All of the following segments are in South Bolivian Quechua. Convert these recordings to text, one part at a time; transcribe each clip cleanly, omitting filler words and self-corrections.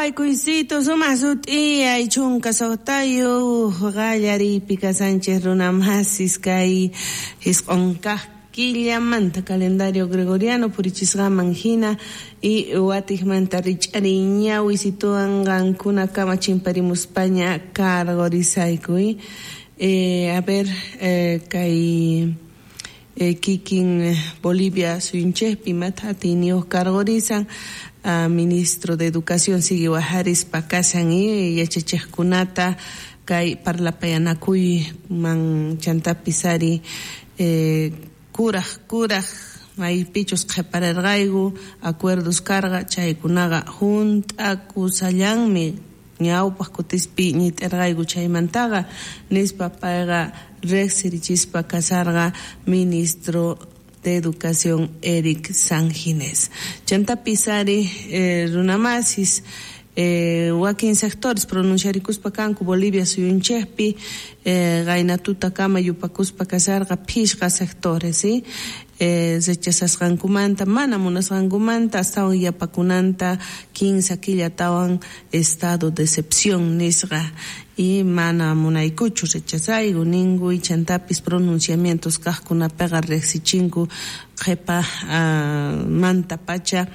Apaykuysito sumaq sut'iyay 16 qallariypi kasanchis runamasis kay 9 kaq killamanta calendario gregoriano purichisqaman hina y watiqmanta rich'ariy ñawisituwan qankunakama chimparimuspaña cargorisayku. A ver, kay kikin Bolivia suyunchikpi imata atiyniyuq cargorizan ministro de Educación sigue wajarispa kasan y yachachiqkunata kay parlapayanakuyman chantapis ari kuraj maypichus qhipararqayku acuerdos karqa chaykunaqa hunt'akusallanmi ñawpaq kutispi ñit'irqayku chaymantaqa nispa payqa riqsirichispa kasarqa ministro de Educación Eric Sanginés. Chantapis ari runamasis wakin sectores pronunciarikuspa kanku Bolivia suyunchikpi qayna tutakama yupakuspa kasarqa 5 sectores, ¿sí? Rechazasqankumanta mana munasqankumanta astawan yapakunanta 15 killatawan estado de excepción nisqa y mana munaykuchu rechazayku ninku y chantapis pronunciamientos kaqkunapiqa riqsichinku qhipa manta pacha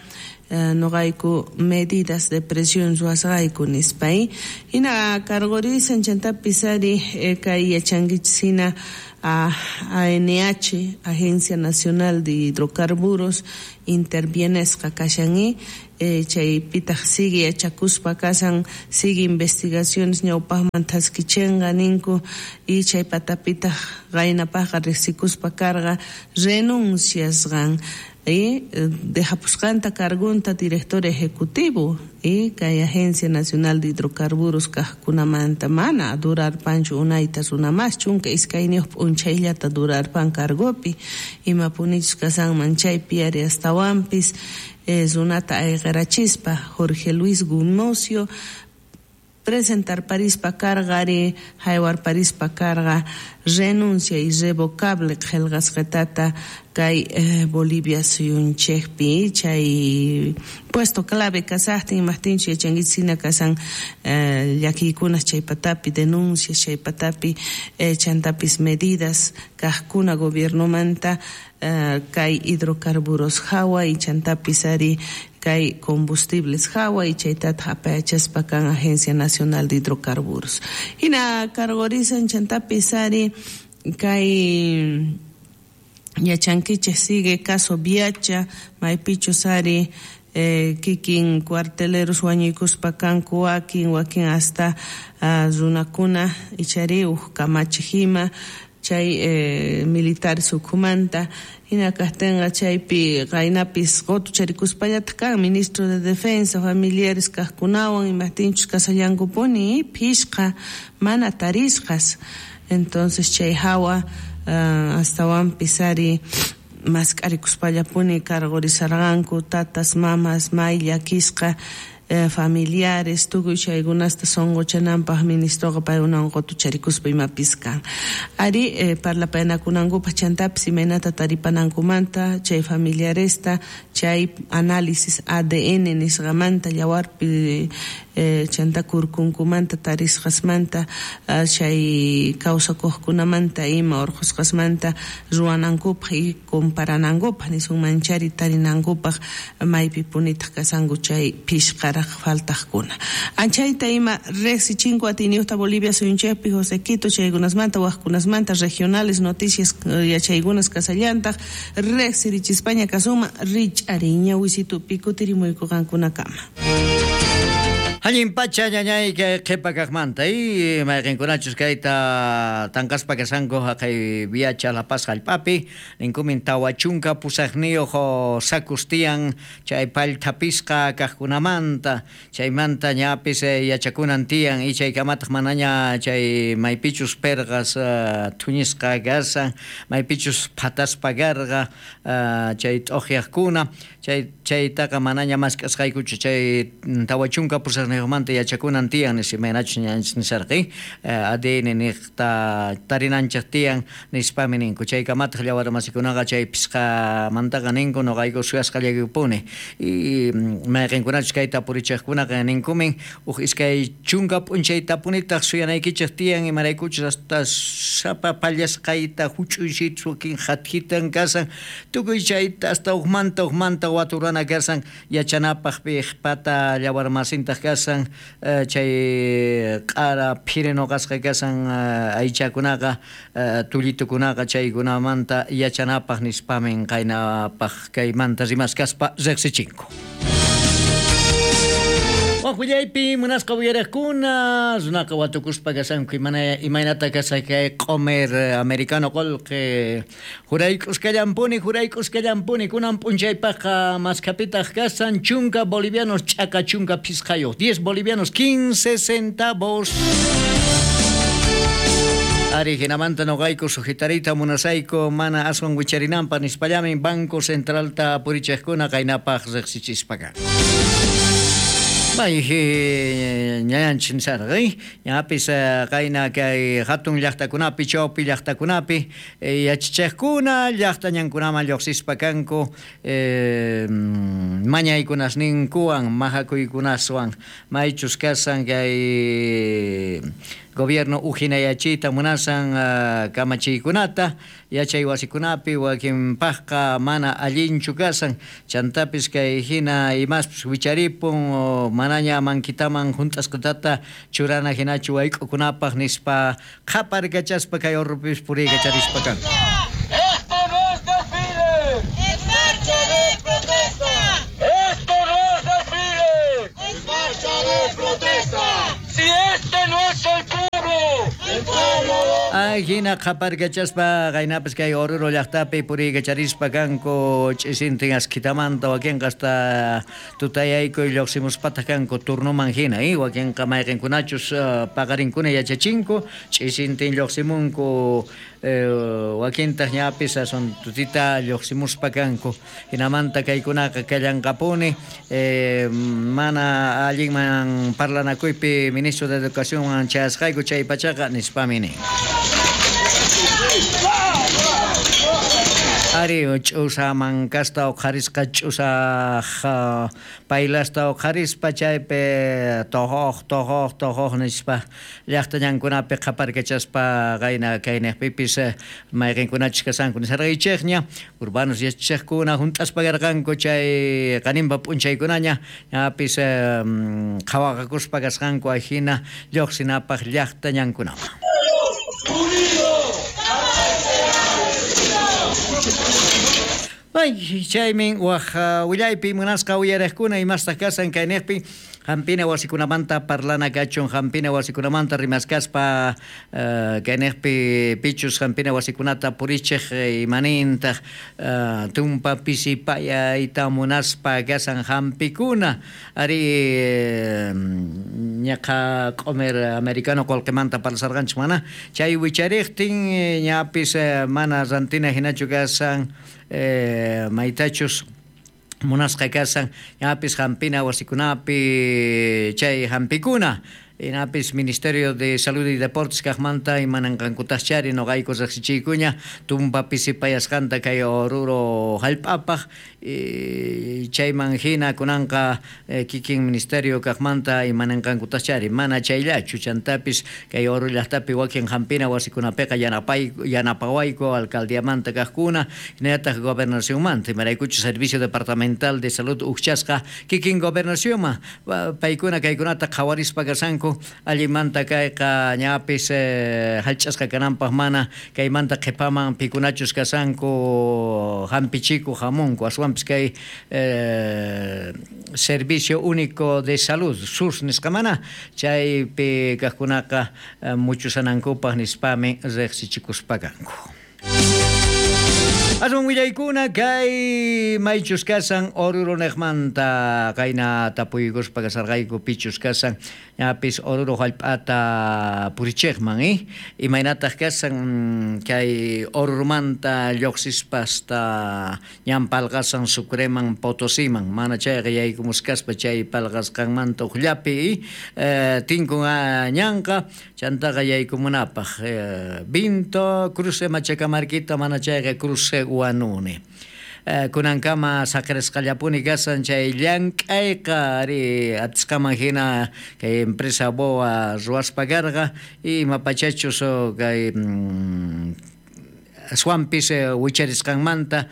noqayku medidas de presión ruwasqayku nispa. Hina cargorizan chantapis ari kay yachankichis hina ANH, Agencia Nacional de Hidrocarburos, intervienesqa kashan chaypitaq sigue yachakuspa kasan, sigue investigaciones ñawpaqman thaskichinqa ninku y chay patapitaq qaynapaqqa riqsikuspa karqa renunciasqan dejapusqanta cargunta director ejecutivo y kay Agencia Nacional de Hidrocarburos kaqkunamanta mana durarpanchu unayta runamas 12 p'unchayllata durarpan cargopi imapunichus kasanman chaypi ari astawanpis runata ayqirachispa Jorge Luis Gumucio presentar parispa karqa ari haywar parispa karqa renuncia irrevocable qillqasqatata kay Bolivia suyunchikpi chay puesto clave kasaqtin imaqtinchu yachankichis hina kasan llakiykunas chay patapi denuncias chay patapi chantapis medidas kaqkuna gobiernomanta kay hidrocarburos hawa y chantapis ari kay combustibles hawa y chaytataq apayachaspa kan Agencia Nacional de Hidrocarburos. Hina cargorizan chantapis ari kay yachankichik sigue caso Viacha maypichus ari kikin cuarteleros wañuykuspa kanku wakin wakin hasta runakuna ichari uj kamachiq ima chay militares ukhumanta hina kaqtinqa chaypi qaynapis qutucharikuspallataq kan ministro de Defensa familiares kaqkunawan imaqtinchus kasallankupuni 5 mana tarisqas entonces chay hawa astawanpis ari mask'arikuspallapuni cargorizarqanku tatas mamas may llakisqa familiares tukuy chaykunasta sunquchananpaq ministroqa paykunawan qutucharikuspa imapis kan ari parlapayanakunankupaq chantapis imaynata taripanankumanta chay familiaresta chay análisis ADN nisqamanta yawarpi chanta kurkunkumanta tarisqasmanta chay kawsakuqkunamanta ima urqusqasmanta ruwanankupaq y comparanankupaq nisunman chari tarinankupaq maypi punitaq kasanku chay 5 faltaqkuna. Anchayta ima riqsichinku atiyniyuqta Bolivia suyunchikpi José Quito chaykunasmanta waqkunasmanta regionales noticias yachaykunas kasallantaq riqsirichispaña kasuma rich'ariy ñawisitupi kutirimuyku qankunakama. Allin pacha ñañay kay qhipa kaqmanta y mayqinkunachus kayta tanqaspa kasanku haqay Viacha La Paz hallp'api ninkumin 48 sakus tiyan chay pallthapisqa kaqkunamanta chaymanta ñapis yachakunan tiyan y chaykamataq manaña chay maypichus perqas thuñisqa kasan maypichus phataspa karqa chay t'uqyaqkuna chaytaqa manaña mask'asqaykuchu chay 48 pusajniyojmanta yachakunan tiyan nispa imaynachus ñañanchis nisarqa ADN niqta tarinanchej tiyan nispami ninku chaykamataj llawarmasikunaqa chay phisqamantaqa ninku noqayku suyasqallaykupuni y mayqenkunachus kayta purichejkunaqa ninkumin uj 20 p'unchaytapunitaj suyanaykichej tiyan imaraykuchus hasta sapa pallasqayta juch'uysitus wakin jatjitan kasan tukuy chayta hasta ujmanta waturana kasan yachanapaj pejpata llawarmasintaj kasan chay q'ara phirinoqasqa kasan aychakunaqa tullitukunaqa chaykunamanta yachanapaj nispamin qaynapaj kaymanta rimaskaspa riqsichinku. Waj willaypi munasqa uyariqkuna runaqa watukuspa kasanku imaynata kasaq kay q'omer americano qolqe jurayk'uskallampuni kunan p'unchaypaqqa maskapitaq kasan 10 bolivianos ch'aka 15 10 bolivianos 15 centavos. Ari hinamanta noqayku sujetarita munasayku mana aswan wicharinanpaq nispallamin Banco Centralta purichejkuna qaynapaq riqsichispa kan. Bay ñañanchis nisarqa ñapis qayna kay hatun llaqtakunapi chawpi llaqtakunapi yachachiqkuna llaqta ñankunaman lluqsispa kanku mañaykunasninkuwan majakuykunaswan maychus kasan kay gobierno ujinayachiyta munasan kamachiykunata yachay wasikunapi wakinpaqqa mana allinchu kasan chantapis kay hina imaspis wicharipun manaña mankitaman junt'asqatata churana hinachu wayk'ukunapaq nispa qhaparkachaspa kay urrupis puriykacharispa kan. Esto no es desfile, es marcha de protesta. Esto no es desfile, es marcha de protesta. Si este no es el pueblo, el pueblo. Ay, hina qhaparkachaspa qaynapis kay Oruro llaqtapi puriykacharispa kanku ch'isintin askitamanta wakinqa hasta tutayaykuy lluqsimuspataq kanku turnuman hina wakinqa mayqinkunachus paqarinkuna yachachinku ch'isintin lluqsimunku wakintaq ñapis asun tutita lluqsimuspa kanku hinamanta kaykunaqa kallanqapuni mana allinman parlanakuypi ministro de Educación chayasqayku chay pachaqa nispami nin. Ari ch'usa mankasta uqharisqa ch'usa paylasta uqharispa chaypi tojoq nispa llaqta ñankunapi qhaparkachaspa qayna kaynaqpipis mayqinkunachus kasanku nisarqaychikña urbanos yachachiqkuna hunt'aspa karqanku chay qaninpa p'unchaykunaña ñapis qhawaqakuspa kasqanku ajina lluqsinapaq llaqta ñankunaman. Ay, chaymin waj willaypi munasqa uyariqkuna imastaq kasan kayniqpi hampina wasikunamanta parlana kachun hampina wasikunamanta rimaskaspa kayniqpi pichus hampina wasikunata purichiq imanintaq tumpa pisipayayta munaspa kasan hampikuna ari ñaqa q'omer americano qolqemanta parlasarqanchik mana chay wichariqtin ñapis mana rantina hinachu kasan maytachus munasqa kasan ñapis hampina wasikunapi chay hampikuna inapis Ministerio de Salud y Deportes kaqmanta imananqankutaqchari noqayku riqsichiykuña tumpa pisipayasqanta kay Oruro hallp'apaq chayman hina kunanqa kikin Ministerio kaqmanta imananqankutaqchari mana chayllachu chantapis kay Oruro llaqtapi wakin hampina wasikunapiqa yanapawayku alcaldiamanta kaqkuna hinallataq gobernacionmanta imaraykuchu Servicio Departamental de Salud ujchasqa kikin gobernacionman paykuna kaykunata qhawarispa kasanku allimanta kayqa ñapis hallch'asqa kananpaq mana kaymanta qhipaman pikunachus kasanku hampichiku hamunku aswanpis kay Servicio Único de Salud SUS nisqa mana chaypi kaqkunaqa muchusanankupaq nispami riqsichikuspa kanku. Aswan willaykuna kay maychus kasan Oruro niqmanta qayna tapuykuspa kasarqayku pichus kasan ñapis Oruro hallp'ata purichiqman imaynataq kasan kay Oruromanta lluqsispa hasta ñan palqasan Sucreman Potosiman mana chayqa yaykumusqaspa chay palqasqanmanta uqllapi tinkun ñanqa chantaqa yaykumunapaq Vinto cruce Machacamarquita mana chayqa cruce Huanuni. Kunankama saqirisqallapuni kasan chay llank'ayqa ari atisqaman hina kay empresa BOA ruwaspa karqa ima pachachus kay aswanpis wicharisqanmanta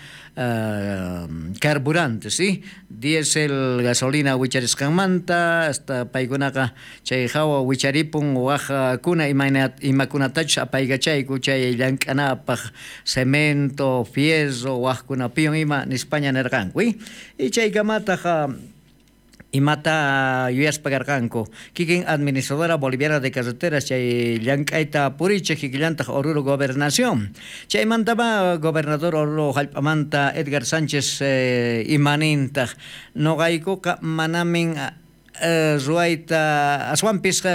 carburantes, diésel, gasolina wicharisqanmanta hasta paykunaqa chay hawa wicharipun waqkuna imakunatachus apaykachayku chay llank'anapaq cemento, fierro waqkunapiwan ima nispaña nirqanku y chaykamataq imata yuyaspa karqanku kikin administradora boliviana de carreteras chay llank'ayta purichej kikillantaq Oruro gobernación chaymantama gobernador Oruro hallp'amanta Edgar Sánchez imanintaq noqaykuqa manamin ruwayta aswanpis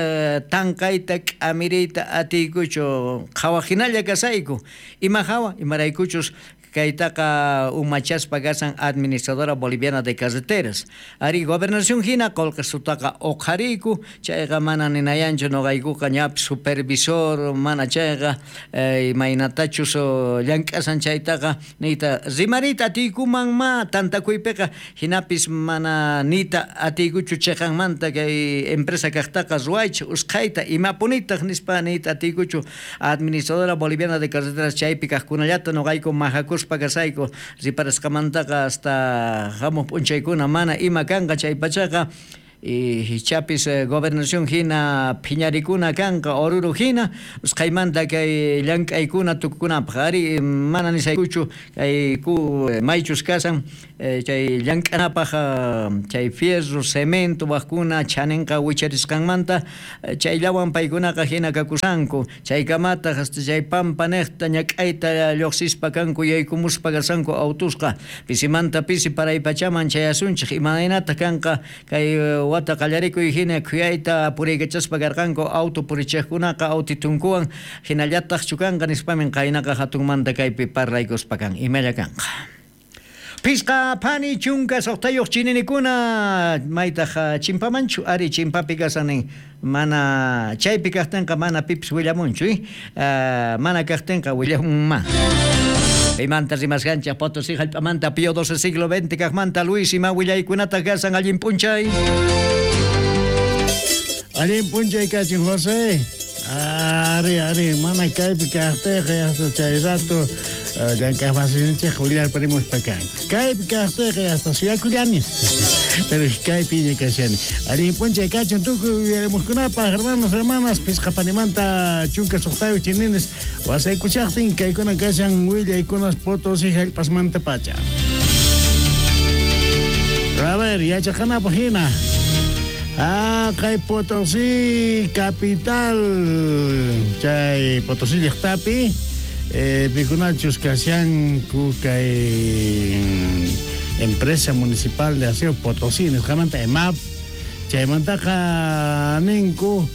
tanqayta k'amiriyta atiykuchu qhawajinalla kasayku ima hawa imaraykuchus kaytaqa umachaspa kasan administradora boliviana de carreteras ari gobernación hina qullqisutaqa uqhariyku chayqa mana ninayanchu noqaykuqa ñapis supervisor mana chayqa imaynatachus llank'asan chaytaqa niyta rimariyta atiykuman ma tantakuypiqa hinapis mana niyta atiykuchu chiqanmanta kay empresa kaqtaqa ruwaychik usqhayta imapunitaq nispa niyta atiykuchu administradora boliviana de carreteras chaypi kaqkunallata noqayku majakuspa kasayku riparasqamantaqa hasta hamuq p'unchaykuna mana ima kanqa chay pachaqa y chapis gobernación hina phiñarikuna kanqa Oruro hina usqhaymanta kay llank'aykuna tukukunapaq ari mana nisaykuchu kay maychus kasan chay llank'anapaq chay fierro, cemento waqkuna chaninqa wicharisqanmanta chayllawan paykunaqa hina kakusanku chaykamataq hasta chay pampa niqta ñak'ayta lluqsispa kanku yaykumuspa kasanku autusqa pisimanta pisi paraypachaman chayasunchik imaynataq kanqa kay wata qallarikuy hina khuyayta puriykachaspa karqanku auto purichiqkunaqa autitunkuwan hinallataq chukanqa nispamin qaynaqa hatunmanta kaypi parlaykuspa kan imalla kanqa. Pisqa phani chunka suqtayuq chininikuna maytaq chimpamanchu ari chimpapi kasanin mana chaypi kaqtinqa mana pipis willamunchu mana kaqtinqa willamunman. Paymanta rimasqanchik Potosí hallp'amanta Pío XII siglo XX kaqmanta Luis ima willaykunataq kasan allin p'unchay. Allin p'unchay kachin José. Ari ari mana kaypi kaqtiyqa hasta chay rato llank'aqmasinchik willarparimuspa kanku. Kaypi kaqtiyqa hasta suyakullani. Pero kaypiña kashani. Allin p'unchay kachun tukuy uyarimuqkunapaq hermanos hermanas pisqa panimanta chunka suqtayuq chininis wasaykuchaqtin kaykuna kashan willaykunas Potosí hallp'asmanta pacha. A ver, yachaqanapaq hina. Kay Potosí capital chay Potosí llaqtapi pikunachus kashanku kay empresa municipal de aseo Potosí nisqamanta EMAP chaymantaqa ninku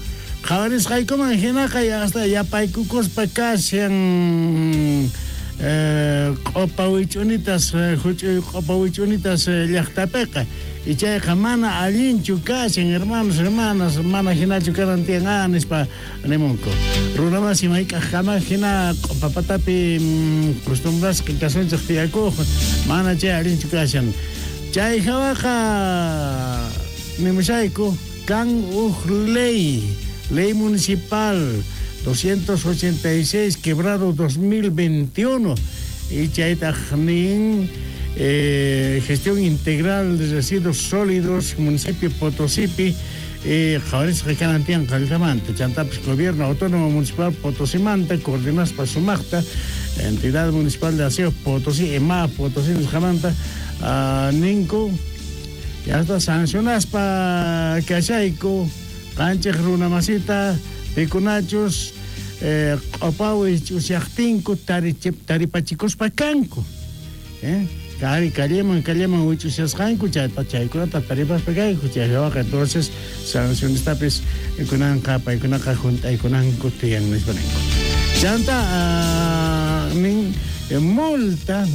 qhawarisqaykuman hinaqa hasta yapaykukuspa kashan q'upa wich'unitas huch'uy q'upa wich'unitas llaqtapiqa y chayqa mana allinchu kashan hermanos hermanas mana hinachu kanan tiyan nispa nimunku runamasi mayk'aqkama hina q'upa patapi costumbrasqa kasunchik tiyakuq mana chay allinchu kashan chay hawaqa nimushayku kan uj ley municipal 286 quebrado 2021 y chaytaq nin gestión integral de residuos sólidos municipio Potosipi qhawarisqa kanan tiyan qallqamanta chantapis gobierno autónomo municipal Potosimanta coordinaspa sumaqta entidad municipal de aseo Potosí EMA Potosí nisqamanta ninku hasta sancionaspa kashayku qanchik runamasita pikunachus q'upawi ch'usyaqtinku taripachikuspa kanku. Kari calleman wich'ushasqanku chayta chaykunata taripaspa kayku chay hawaqa entonces sancionestapis kunanqa paykunaqa junt'aykunanku tiyan nispa ninku. Chanta nin multa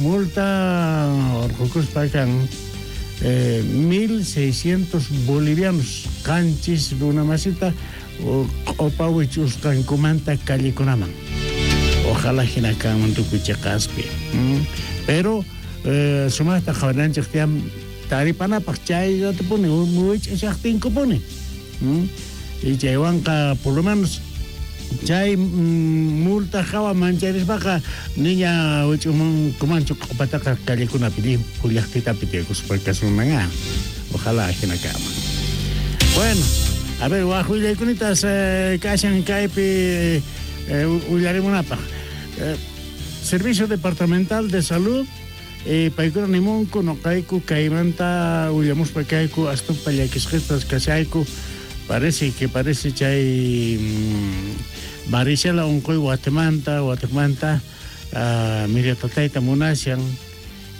urqukuspa kan 1600 bolivianos qanchis runamasita q'upa wich'usqankumanta callekunaman. Ojalá hina kanman tukuy chiqaspi. Pero sumaqta qhawarinanchik tiyan taripanapaq chayratapuni wich'ashaqtinkupuni. Y chaywanqa por lo menos chay multa hawa mancharispaqa niña wich'umankumanchu q'upataqa callekunapi llimphu llaqtitapi tiyakuspa kasunman. Ojalá hina kanman. Bueno, a ver, waj willaykunitas kashan kaypi willarimunapaq. Servicio Departamental de Salud paykuna nimunku noqayku kaymanta willamuspa kayku astumpa llakisqistas kashayku. Parece chay varicela unquy Guatemanta miratatayta munashan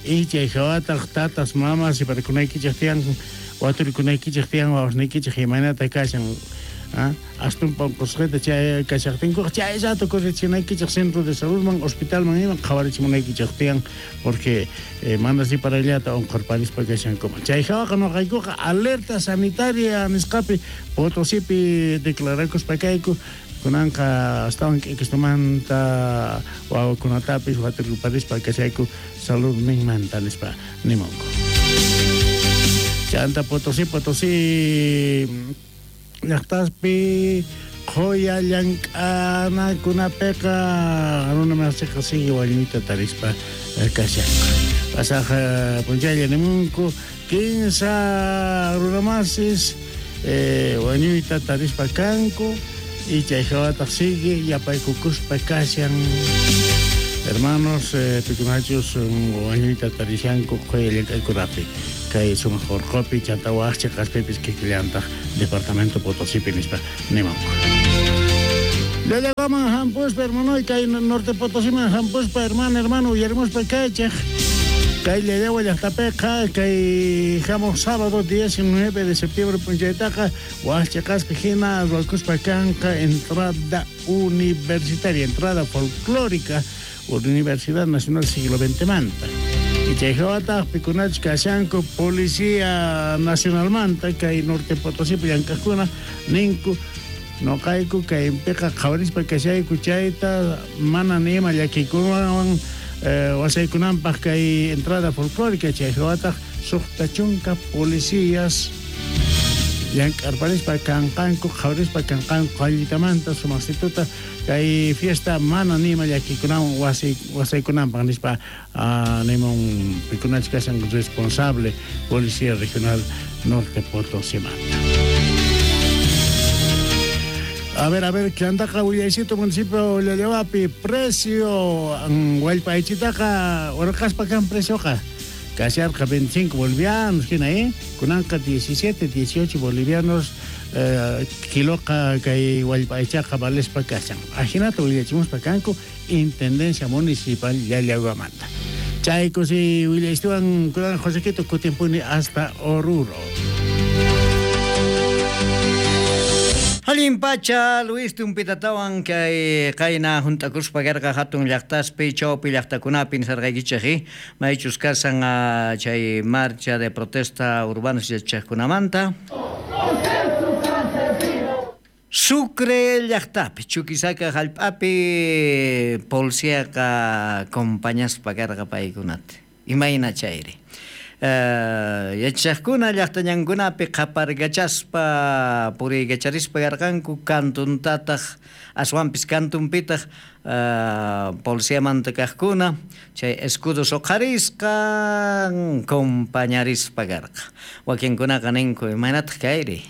y chay hawataq tatas mamas iparikunaykichik tiyan waturikunaykichik tiyan wawasniykichik imaynata kashan astumpa unqusqita chay kashaqtinkuqa chay rato correchinaykichik centro de saludman hospitalman ima qhawarichimunaykichik tiyan porque mana riparayllata unqurparispa kashankuman. Chay hawaqa noqaykuqa alerta sanitaria nisqapi Potosipi declarakuspa kayku kunanqa astawan k'ikistumanta wawakunatapis waturkuparispa kashayku salud ninmanta nispa nimunku. Chanta Potosí llaqtaspi qhuya llank'anakunapiqa runamasiqa sigue wañuyta tarispa kashanku. Pasaq p'unchaylla nimunku 15 runamasis wañuyta tarispa kanku y chay hawataq sigue yapaykukuspa kashan. Hermanos, pikunachus wañuyta tarishanku qhuya llank'aykunapi kay sumaq urqupi chanta waj chiqaspipis kikillantaq departamento Potosipi nispa nimunku. Llallagaman hampuspa hermanoy kay norte Potosiman hampuspa hermano uyarimuspa kaychik kay Llallagua llaqtapiqa kay hamuq sábado 19 de septiembre p'unchaytaqa waj chiqaspi hina ruwakuspa kanqa entrada universitaria, entrada folclórica Universidad Nacional Siglo XX manta. Y chay hawataq pikunachus kashanku Policía Nacionalmanta kay Norte Potosipi llank'aqkuna ninku noqayku kaypiqa qhawarispa kashayku chayta mana ni ima llakiykunawan wasaykunanpaq kay entrada folclórica chay hawataq suqta chunka policías llank'arparispa kanqanku qhawarispa kanqanku qallitamanta sumaqsituta kay fiesta mana ni ima llakiykunawan wasaykunanpaq nispa nimun pikunachus kashan responsable Policía Regional Norte Potosimanta. A ver, chantaqa willaycito municipio Llallawapi precio wallpa aychitaqa urqaspa kan precioqa kasharqa 25 bolivianos hina kunanqa 17, 18 bolivianos kiloqa kay wallpa aychaqa valespa kashan. Ajinata willachimuspa kanku Intendencia Municipal Llallaguamanta. Chayku si willaystuwan kunan Josequito kutimpuni hasta Oruro. Allin pacha Luis tumpitatawan kay qayna juntakuspa karqa hatun llaqtaspi chawpi llaqtakunapi nisarqaykichik maychus kasan chay marcha de protesta urbanos yachaqkunamanta. Sucre llaqtapi Chuquisaca hallp'api policiaqa compañaspa karqa paykunata imayna chayri. Yachaqkuna llaqtañankunapi qaparkachaspa puriykacharispa karqanku kantuntataq aswanpis kantunpitaq policiamanta kaqkuna chay escudos uqharisqan compañarispa karqa. Wakinkunaqa ninku imaynataq kayri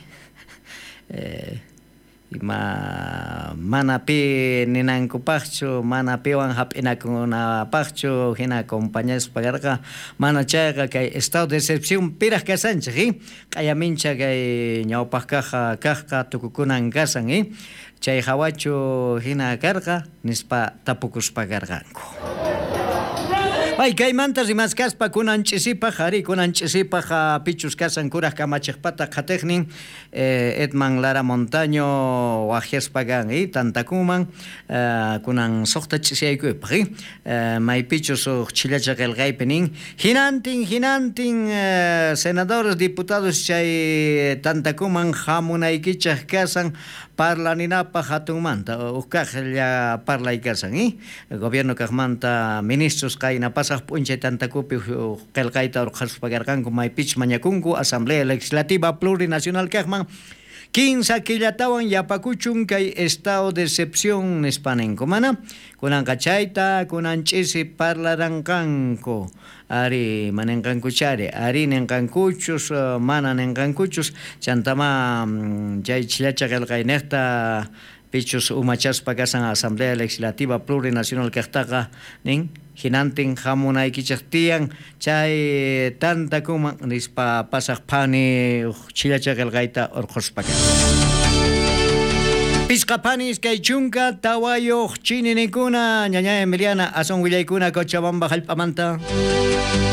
ima mana pi ninankupaqchu mana piwan hap'inakunapaqchu hina compañaspa karqa mana chayqa kay estado de excepción piraq kasanchik q'ayamincha kay ñawpaq kaqqa tukukunan kasan chay hawachu hina karqa nispa tapukuspa karqanku. Pay kaymanta rimaskaspa kunan ch'isipaj, ari kunan ch'isipaj pichus kasan kuraj kamachejpata qhatejnin Edman Lara Montaño wajyaspa kan tantakuman kunan suqta ch'isiyaykuypaj maypichus uj chhillacha qillqaypi nin hinantin hinantin senadores diputados chay tantakuman hamunaykichej kasan parlaninapaj hatunmanta uj kajlla parlay kasan gobierno kajmanta ministros qayna pasaj p'unchay tantakupi qillqayta urqhaspa karqanku maypichus mañakunku Asamblea Legislativa Plurinacional kajman 15 killatawan yapakuchun kay estado de excepción nispa ninku mana kunanqa chayta kunan ch'isi parlaranqanku ari manenqankuchari ari ninqankuchus mana ninqankuchus chantama chay chhillacha qillqaynejta pichus umachaspa kasan Asamblea Legislativa Plurinacional kajtaqa nin hinantin hamunaykichej tiyan chay tantakuman nispa pasaj phani uj chhillacha qillqayta urqhuspa kan. Pisqa phani 24 chininikuna ñaña Emiliana asun willaykuna Cochabamba hallp'amanta.